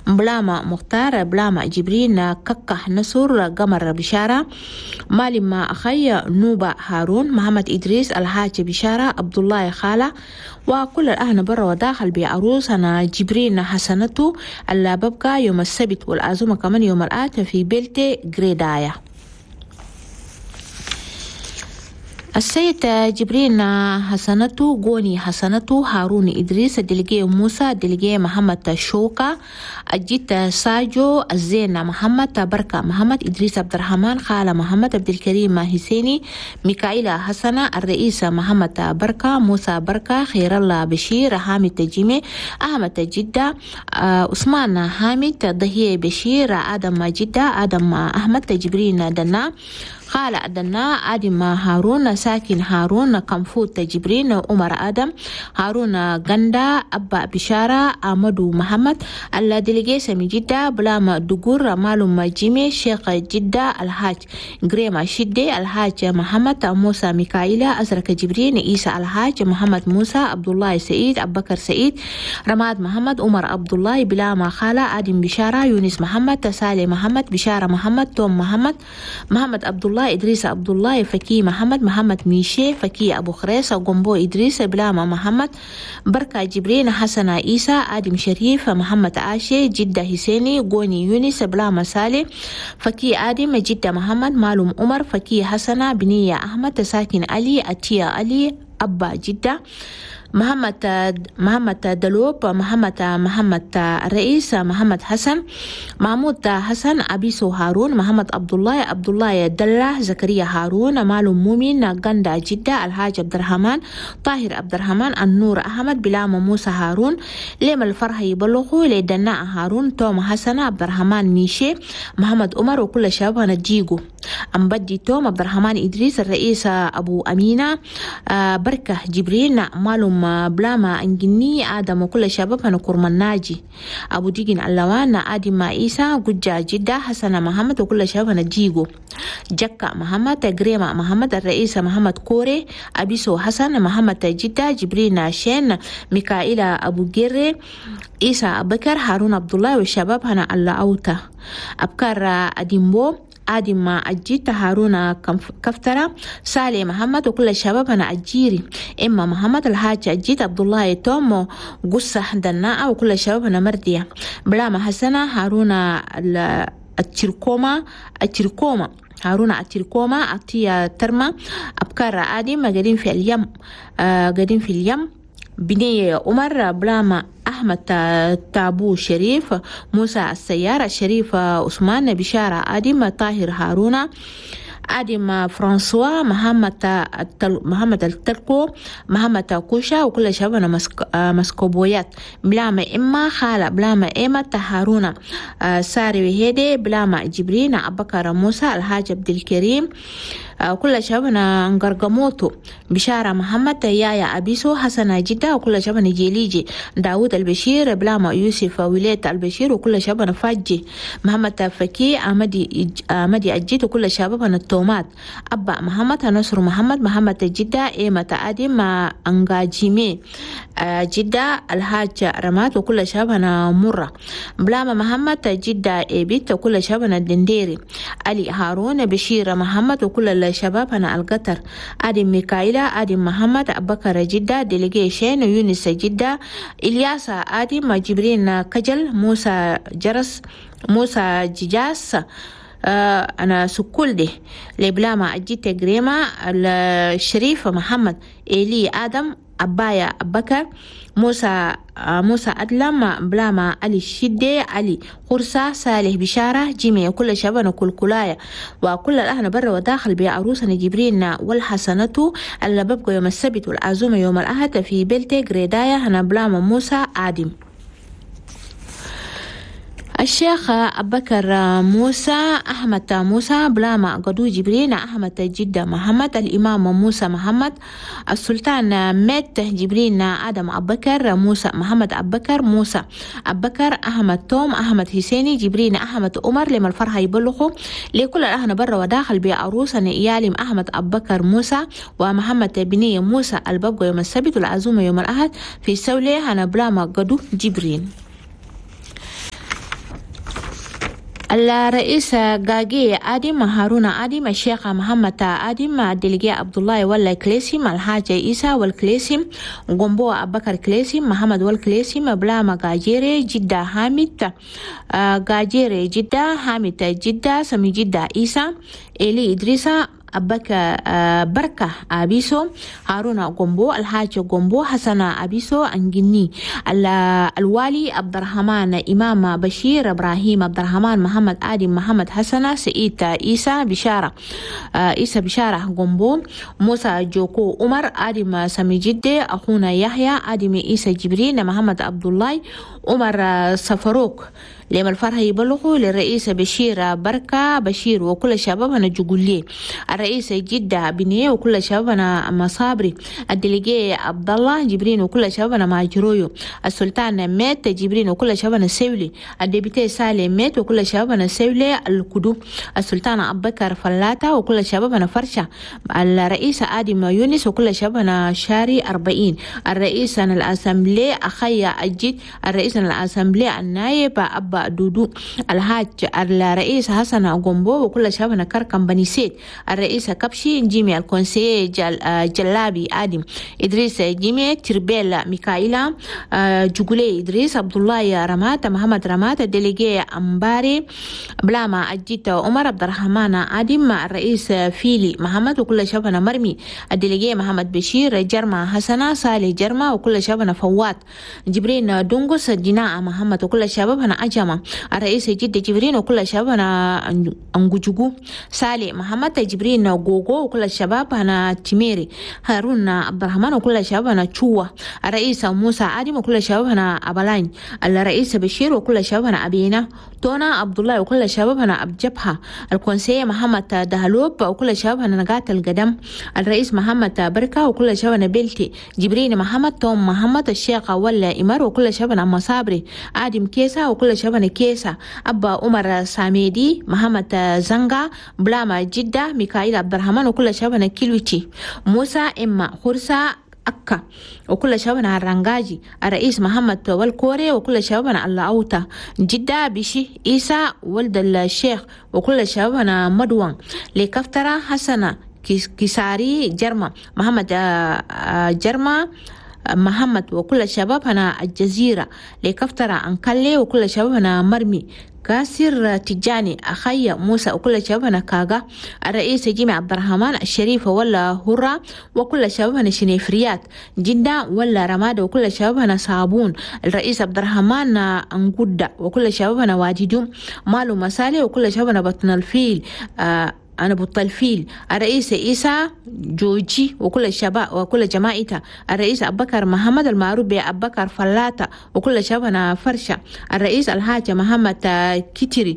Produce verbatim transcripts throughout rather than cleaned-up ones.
بلاما مختار بلاما جبرين ككه نصر قمر بشارة مالما أخي نوبة هارون محمد إدريس الحاج بشارة عبد الله خالة وكل الأهل برا وداخل بعروسنا جبرين حسنته اللي ببقى يوم السبت والعزومة كمان يوم الآت في بلتي جريدايا. السيد جبرين حسنته غوني حسنته هارون إدريس دلقي موسى دلقي محمد شوكا الجيت ساجو الزينة محمد بركة محمد إدريس عبد الرحمن خالة محمد عبد الكريم حسيني ميكائيل حسنة الرئيس محمد بركة موسى بركة خير الله بشير حامد تجيمي أحمد جدة عثمان حامد ضهي بشير آدم جدة آدم أحمد جبرين دنا خالة أدنا آدم هارون ساكن هارون كمفوت جبرين عمر آدم هارون غندا أبا بشارة أحمد محمد الدليجيسة من جدة بلام دقور مالوم جيمي شيخ جدة الحاج غريما شدي الحاج محمد موسى ميكائيل أزرق جبرين عيسى الحاج محمد موسى عبد الله سعيد أبو بكر سعيد رماد محمد عمر عبد الله بلام خالة آدم بشارة يونس محمد سالي محمد بشارة محمد توم محمد محمد عبد الله إدريس عبد الله فكي محمد محمد ميشي فكي أبو خريس قنبو إدريس بلاما محمد بركة جبرين حسن عيسى آدم شريف محمد عاشي جدة حسيني غوني يونس بلاما سالي فكي آدم جدة محمد مالوم عمر فكي حسنة بنية أحمد ساكن علي أتيا علي أبا جدة محمد محمد دلوب محمد محمد الرئيس محمد حسن محمود حسن أبيسو هارون محمد عبد الله عبد الله دلة زكريا هارون مالو مومن غندا جدة الحاج عبد الرحمن طاهر عبد الرحمن النور أحمد بلام موسى هارون لما الفرح يبلغوا لدنا هارون توم حسن عبد الرحمن ميشي محمد عمر وكل شباب نجيجو أم بدي توم عبد الرحمن إدريس الرئيس أبو أمينة بركة جبريل مالوم بلاما أنجني آدم وكل شباب هنكرم ناجي أبو ديجن اللوان آدم عيسى جوجا جدة حسن محمد وكل شباب هنجيجو جكا محمد جريمة محمد الرئيس محمد كوري أبيسو حسن محمد جدة جبريل شين ميكائيل أبو جيري عيسى أبكر هارون عبد الله والشباب هنا الله أوتا أبكر أديمبو آدم أجيت هارون كفترة سالي محمد وكل الشباب أنا أجيري إما محمد الحاج أجيت عبد الله تومو قصة دناء وكل الشباب أنا مردية بلاما حسنة هارون التركوما التركوما هارون التركوما أعطية ترمى أبكار آدم قاعدين في اليم قاعدين في اليم بني عمر بلاما أحمد تابو شريف موسى السيارة شريف عثمان بشارة آدم طاهر هارون آدم فرانسوا محمد محمد التركو محمد كوشا وكل شبابنا مسك مسكوبويات بلاما إما خالة بلاما إما تهارونا ساري وهيدي بلاما جبرين أبكر موسى الحاج عبد الكريم كل شبابنا نقرقموتو بشارة محمد يايا أبيسو حسن جدة وكل شبابنا جيليجي داود البشير بلاما يوسف ولاية البشير وكل شبابنا فاجي محمد فكي أمدي أمدي أجيت وكل شبابنا التومات أبا محمد نصر محمد محمد جدة إيمة آدم أنجاجيمي جدة الحاج رمات وكل شبابنا مرة بلاما محمد جدة إيبيت وكل شبابنا الدنديري علي هارون بشير محمد وكل الشباب هنا القطر آدم ميكائيل آدم محمد أبكر جدة ديليجيشن يونس جدة إلياس آدم جبرين كجل موسى جرس موسى جيجاس أنا سكول دي لبلاما أجيت جريمة الشريف محمد إلي آدم أبايا أبكر موسى موسى أدلم بلاما علي الشدي علي قرصة صالح بشارة جيمي وكل شبان وكل كلاية وكل الأهل برا وداخل بعروسنا جبرين والحسنة اللي ببقى يوم السبت والعزومة يوم الأحد في بلتي جريدايا هنا بلاما موسى آدم. الشيخ أبكر موسى أحمد موسى بلاما قدو جبرين أحمد جدة محمد الإمام موسى محمد السلطان مات جبرين آدم أبكر موسى محمد أبكر موسى أبكر أحمد توم أحمد حسيني جبرين أحمد عمر لما الفرحة يبلغوا لكل الأهل برا وداخل بعروسة يالم أحمد أبكر موسى ومحمد بني موسى الببقى يوم السبت والعزومة يوم الأحد في سولة هنا بلاما قدو جبرين. الرئيس غاجي آدم هارون آدم الشيخ محمد آدم الدليجي عبد الله ولا كليسيم الحاج عيسى والكليسيم غومبو أبكر كليسيم محمد والكليسيم بلاما غاجيري جدة حامد غاجيري جدة حامد جدة سمي جدة عيسى إلي إدريسا أبكا بركة أبيسو هارون غومبو الحاج غومبو حسن أبيسو أنجني الوالي عبد الرحمن إمام بشير إبراهيم عبد الرحمن محمد آدم محمد حسن سعيد عيسى بشارة عيسى بشارة غومبو موسى جوكو عمر آدم سمي جدة أخونا يحيى آدم عيسى جبرين محمد عبد الله عمر سفروك. لما الفرح يبلغوا للرئيس بشير بركة بشير وكل شبابنا جقولي الرئيس جدة بنية وكل شبابنا مصابري الدليجي عبد الله جبرين وكل شبابنا ماجرويو السلطان مات جبرين وكل شبابنا سيولي الديبيتي سالم مات وكل شبابنا سيولي الكدو السلطان أبو بكر فلاتا وكل شبابنا فرشة الرئيس آدم يونس وكل شبابنا شاري أربعين الرئيس الأسمبلي أخي أجد الرئيس الأسمبلي النايب أبا دودو الحاج الرئيس حسن غومبو وكل شبابنا كركم بني سيد الرئيس كبشي جيمي الكونسي جل جلابي آدم إدريس جيمي تربيل ميكائيلا جوجولي إدريس عبد الله رمات محمد رمات ديليجي أمباري بلاما أجيت عمر عبد الرحمن آدم الرئيس فيلي محمد وكل شبابنا مرمي الديليجي محمد بشير جرما حسنة صالح جرما وكل شبابنا فوات جبرين دونغوس جناء محمد وكل شبابنا أجمع الرئيس جد جبرين وكل شبابنا أنجوجو صالح محمد جبرين غوغو وكل شبابنا تميري هارون عبد الرحمن وكل شبابنا تشوا الرئيس موسى آدم وكل شبابنا أبلاين الرئيس بشير وكل شبابنا أبينا تونا عبد الله وكل شبابنا أبجبها الكونسي محمد دهلوب وكل شبابنا نجاة القدم الرئيس محمد بركة وكل شبابنا بلتي جبرين محمد توم محمد الشيخ ولا إمر وكل شبابنا مصابري آدم كيسا وكل شبابنا كيسا أبا عمر ساميدي محمد زنغا بلاما جدة ميكائيل عبد الرحمن وكل شبابنا كيلوتي موسى إما خرسا أكا وكل شبابنا الرنجاجي الرئيس محمد والكوري وكل شبابنا اللاوتا جدة بشي إيسا ولد الشيخ وكل شبابنا مدوان لكفترة حسنة كيساري جرما محمد جرما محمد وكل شبابنا الجزيرة لكفترة أنكالي وكل شبابنا مرمي كاسر تجاني أخي موسى وكل شبابنا كاغا الرئيس جيمي عبد الرحمن الشريف ولا هرة وكل شبابنا شنيفريات جدة ولا رماد وكل شبابنا صابون الرئيس عبد الرحمن أنقودة وكل شبابنا واجدو مالو مسالي وكل شبابنا بطن الفيل آه أنا بطل الرئيس إيسا جوجي وكل الشباب وكل جماعته الرئيس أبو بكر محمد المعروف بأبو بكر فلاتا وكل شبابنا فرشة الرئيس الحاج محمد كتري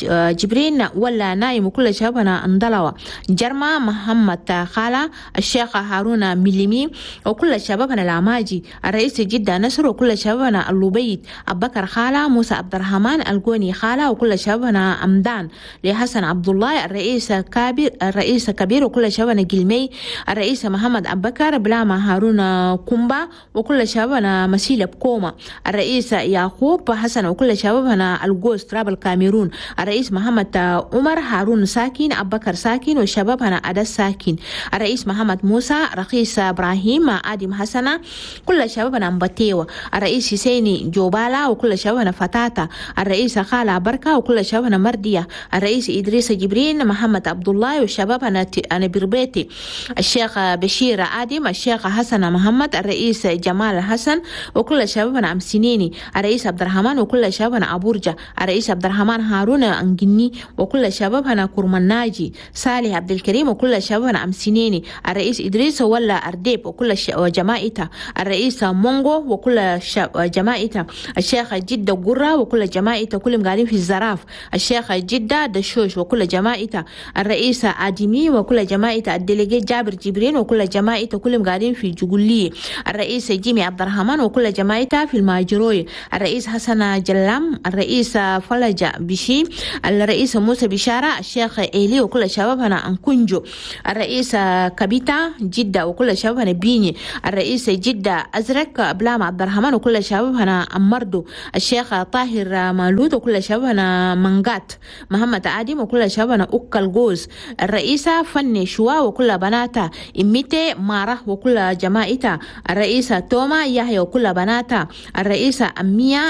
جبرين ولا نايم وكل شبابنا اندلوا جرما محمد خالة الشيخ هارون مليمي وكل شبابنا العماجي الرئيس جدة نصر وكل شبابنا اللوبيت أبو بكر خالة موسى عبد الرحمن الجوني خالة وكل شبابنا أمدان لحسن عبد الله الرئيس كابير الرئيس كبير وكل شبابنا جلمي الرئيس محمد أبو بكر بلاما هارون كومبا وكل شبابنا مسيلة بكوما الرئيس يعقوب حسن وكل شبابنا الجوز تراب الكاميرون الرئيس محمد عمر هارون ساكن أبو بكر ساكن وشبابنا أدس ساكن الرئيس محمد موسى رئيس إبراهيم آدم حسن كل شبابنا مبتيوة الرئيس سيني جوبالا وكل شبابنا فتاتا الرئيس خالة بركة وكل شبابنا مردية الرئيس إدريس جبرين محمد عبد الله والشباب أنا أنا بربيتي الشيخ بشير آدم الشيخ حسن محمد الرئيس جمال حسن وكل شبابنا أمسنيني الرئيس عبد الرحمن وكل شبابنا أبورجا الرئيس عبد الرحمن هارون أنجني وكل شبابنا كرمناجي صالح عبد الكريم وكل شبابنا أمسنيني الرئيس إدريس ولا أرديب وكل جماعته الرئيس مونغو وكل جماعته الشيخ جدة قرة وكل جماعته كلهم قاعدين في الزراف الشيخ جدة دشوش وكل جماعته الرئيس آدمي وكل جماعة الدليجي جابر جبرين وكل جماعة كلهم قاعدين في جقولية. الرئيس جيمي عبد الرحمن وكل جماعة في الماجروي. الرئيس حسن جلام، الرئيس فلجة بشي، الرئيس موسى بشارة، الشيخ إيلي وكل شباب هنا أنكونجو. الرئيس كابيتا جدة وكل شباب هنا بيني. الرئيس جدة أزرق بلام عبد الرحمن وكل شباب هنا أمردو. الشيخ طاهر مالود وكل شباب هنا منغات. محمد آدم وكل شباب هنا أكل جوز. الرئيسة فني شوا وكل بناتا. إميتي مارة وكل جماعتا. الرئيسة توما يحيى وكل بناتا. الرئيسة أمية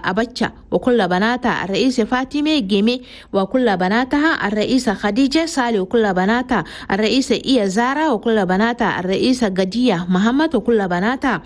أبتشا وكل بناتا. الرئيسة فاطمة جيمي وكل بناتها. الرئيسة خديجة سالي وكل بناتها. الرئيسة إيا زارا وكل بناتها. الرئيسة قدية محمد وكل بناتها.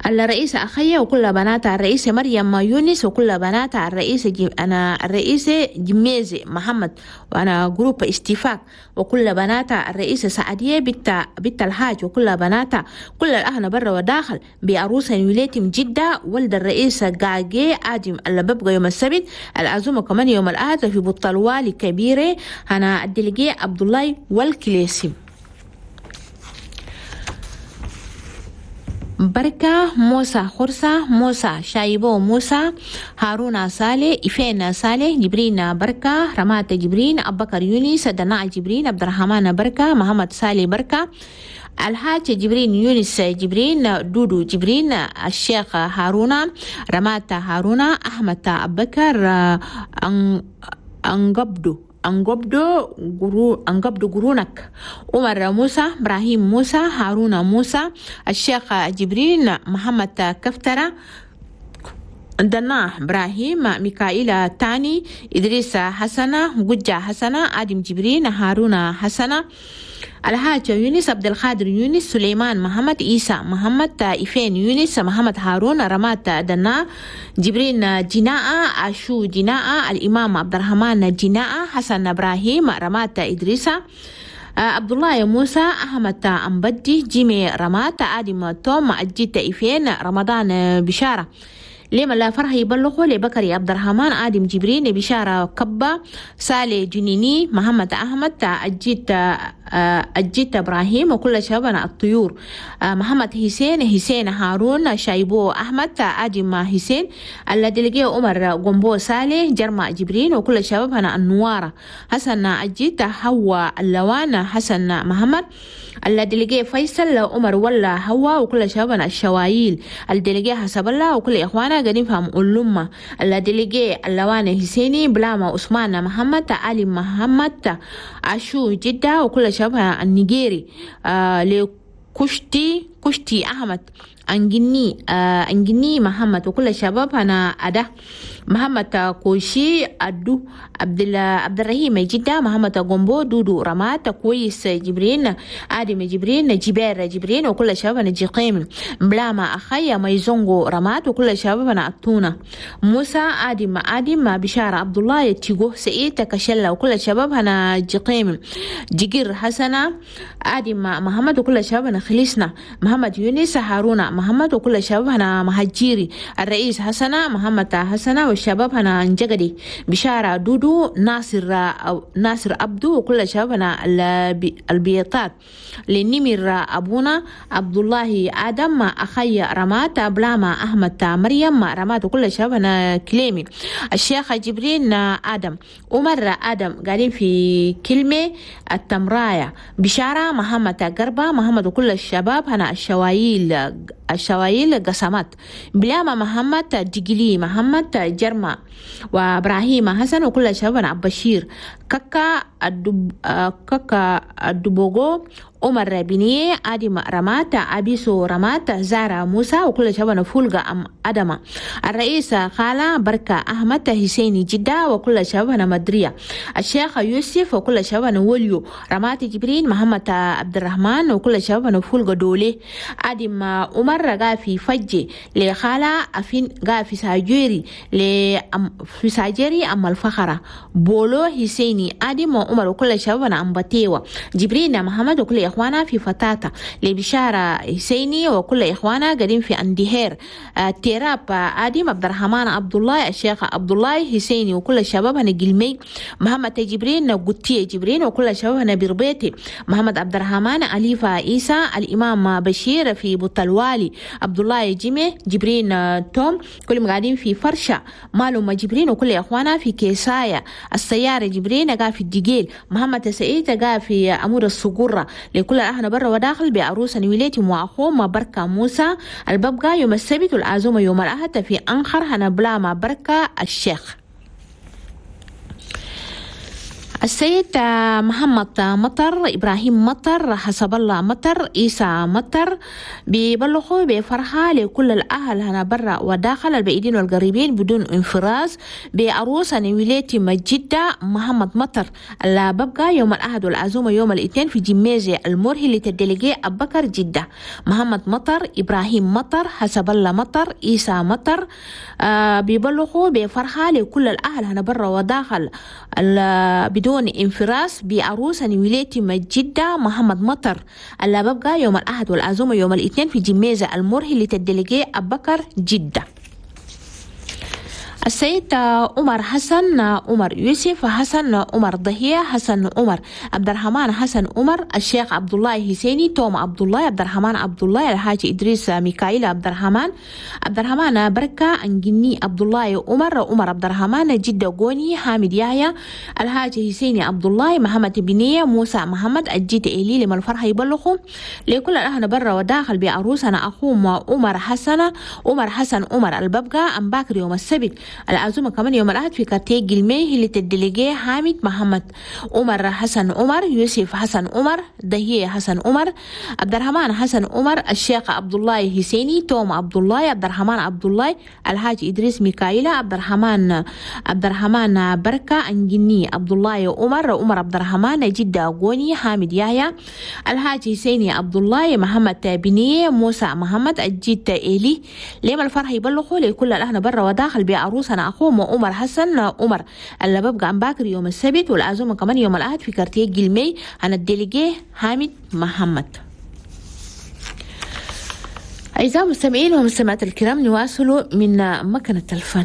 الرئيسة أخية وكل بناتها. الرئيسة مريم يونس وكل بناتها. الرئيسة جم... أنا الرئيسة جميزة محمد وأنا جروب استفاق وكل بناتها. الرئيسة سعدية بنت بنت الحاج وكل بناتها. كل الأهل برا وداخل بعروسة وليتم جدة ولد الرئيسة قاقي آدم اللي ببقى يوم السبت. العزومة كمان يوم الأحد في بطلوالي كبيرة أنا الدلقي عبد الله والكليسي. بركة موسى خرسة موسى شايبو موسى هارون صالح إفين صالح جبرين بركة رمات جبرين أبكر يونس دناء جبرين عبد الرحمن بركة محمد صالح بركة الحاج جبرين يونس جبرين دودو جبرين الشيخ هارون رمات هارون أحمد أبكر أنقبدو أنقبدو غرو أنقبدو غرونك عمر موسى إبراهيم موسى هارون موسى الشيخ جبرين محمد كفترة دنا إبراهيم ميكائيل تاني إدريس حسنة جوجة حسنة آدم جبرين هارون حسنة الحاج يونس عبد القادر يونس سليمان محمد عيسى محمد إفين يونس محمد هارون رمات دنا جبرين جناء عشو جناء الإمام عبد الرحمن جناء حسن إبراهيم رمات إدريس عبد الله موسى أحمد أمبدي جيمي رمات آدم توم أجيت إفين رمضان بشارة لما لا فرح يبلغوا لبكري عبد الرحمن آدم جبرين بشارة كبة سالي جنيني محمد أحمد أجيت أجيت إبراهيم وكل شبابنا الطيور محمد حسين حسين هارون شايبو أحمد آدم حسين الذي لقيه عمر قنبو سالي جرما جبرين وكل شبابنا النوارة حسن أجيت حوا اللوان حسن محمد الذي لقيه فيصل عمر ولا هوا وكل شبابنا الشوايل الذي لقيه حسب الله وكل إخوانا قاعدين فهم اللمة الذي لقيه اللوان حسيني بلاما عثمان محمد علي محمد عشو جدة وكل شبه النيجيري آه لكشتي كشتي أحمد أنجني آه أنجني محمد وكل شباب أنا أدا محمد كوشي أدو عبد الله عبد الرحيم جدة محمد غومبو دودو رمات كويس جبرين آدم جبرين جبير جبرين وكل شباب أنا جقيم بلاما أخي ميزونغو رمات وكل شباب أنا أتونا موسى آدم آدم بشارة عبد الله تيجو سعيد كشلة وكل شباب أنا جقيم جير حسنة آدم محمد وكل شباب أنا خلصنا محمد يونس هارون محمد وكل شباب هنا مهجيري الرئيس حسنة محمد حسنة والشباب هنا انجقدي بشارة دودو ناصر ناصر عبدو وكل شباب هنا البيطات لنمر أبونا عبد الله آدم أخي رمات بلاما أحمد مريم رمات وكل شباب هنا كليمي الشيخ جبرين آدم عمر آدم قاعدين في كلمة التمراية بشارة محمد قربة محمد وكل الشباب هنا الشوايل الشوايل قسمات بلاما محمد جيجلي محمد جرما وابراهيم حسن وكل شباب عبد بشير كاكا الدب كاكا الدبوغو عمر بنية آدم رمات أبيسو رمات زارا موسى وكل شباب فولغا أم أدمة الرئيس خالة بركة أحمد حسيني جدة وكل شباب مدرية الشيخ يوسف وكل شباب وليو رمات جبرين محمد عبد الرحمن وكل شباب فولغا دولي آدم عمر غافي فجي لخالة أفين غافي ساجيري في ساجيري أم الفخرة بولو حسيني آدم عمر وكل شباب أم بتيوة جبرين محمد وكل إخوانا في فتاتا لبشارة حسيني وكل إخوانا قاعدين في أندهير تيراب آدم عبد الرحمن عبد الله الشيخ عبد الله حسيني وكل الشباب هنا قلمي محمد جبرين قتية جبرين وكل الشباب هنا بربيتي محمد عبد الرحمن أليفة عيسى الإمام بشير في بوتلوالي عبد الله جيمي جبرين توم كلهم قاعدين في فرشة مالهم جبرين وكل إخوانا في كيسايا السيارة جبرين قاعد في الدجيل محمد سعيد قاعد في أمور الصقورة لكل أهل برا وداخل بعروسة نويلتي وأخوه بركة موسى الببقى يوم السبت والعزومة يوم الأحد في أنخر هنبلا مع بركة الشيخ. السيد محمد مطر إبراهيم مطر حسب الله مطر عيسى مطر بيبلغوا بفرحة لكل الأهل هنا برا وداخل البعيدين والقريبين بدون انفراز بعروسة نويلتي مجدة محمد مطر اللي ببقى يوم الأحد والعزومة يوم الاثنين في جميزة المرهي لتدلقي أبكر جدة. محمد مطر إبراهيم مطر حسب الله مطر عيسى مطر آه بيبلغوا بفرحة لكل الأهل هنا برا وداخل بدون انفراس بعروسة نويلتي مجدة محمد مطر اللي ببقى يوم الأحد والعزومة يوم الاثنين في جميزة المرهي لتدلقي أبكر جدة. السيد عمر حسن عمر يوسف حسن عمر ضهية حسن عمر عبد الرحمن حسن عمر الشيخ عبد الله حسيني توم عبد الله عبد الرحمن عبد الله الحاج إدريس ميكائيل عبد الرحمن عبد الرحمن بركة أنجني عبد الله عمر عمر عبد الرحمن جدة غوني حامد يحيى الحاج حسيني عبد الله محمد بنية موسى محمد الجيت إلي لما الفرحة يبلغوا لكل الأهل برا وداخل بعروسنا أخوه عمر حسن عمر حسن عمر الببقى أم باكر يوم السبت العزومة كمان يوم الأحد في كارتيه جلمي اللي تدلقيه حامد محمد عمر حسن عمر يوسف حسن عمر دهية حسن عمر عبد الرحمن حسن عمر الشيخ عبد الله حسيني توم عبد الله عبد الرحمن عبد الله الحاج إدريس ميكائيل عبد الرحمن عبد الرحمن بركة أنجني عبد الله عمر عمر عبد الرحمن جدة غوني حامد يحيى الحاج حسيني عبد الله محمد بنية موسى محمد الجيت إيلي لما الفرح يبلغوا لكل الأهل برا وداخل بعروس أنا أخوه عمر حسن عمر اللي ببقى عم باكر يوم السبت والعزومة كمان يوم الأحد في كارتيه جلمي أنا الديليجي حامد محمد. أعزائي المستمعين ومستمعات الكرام نواصل من مكنة الفن.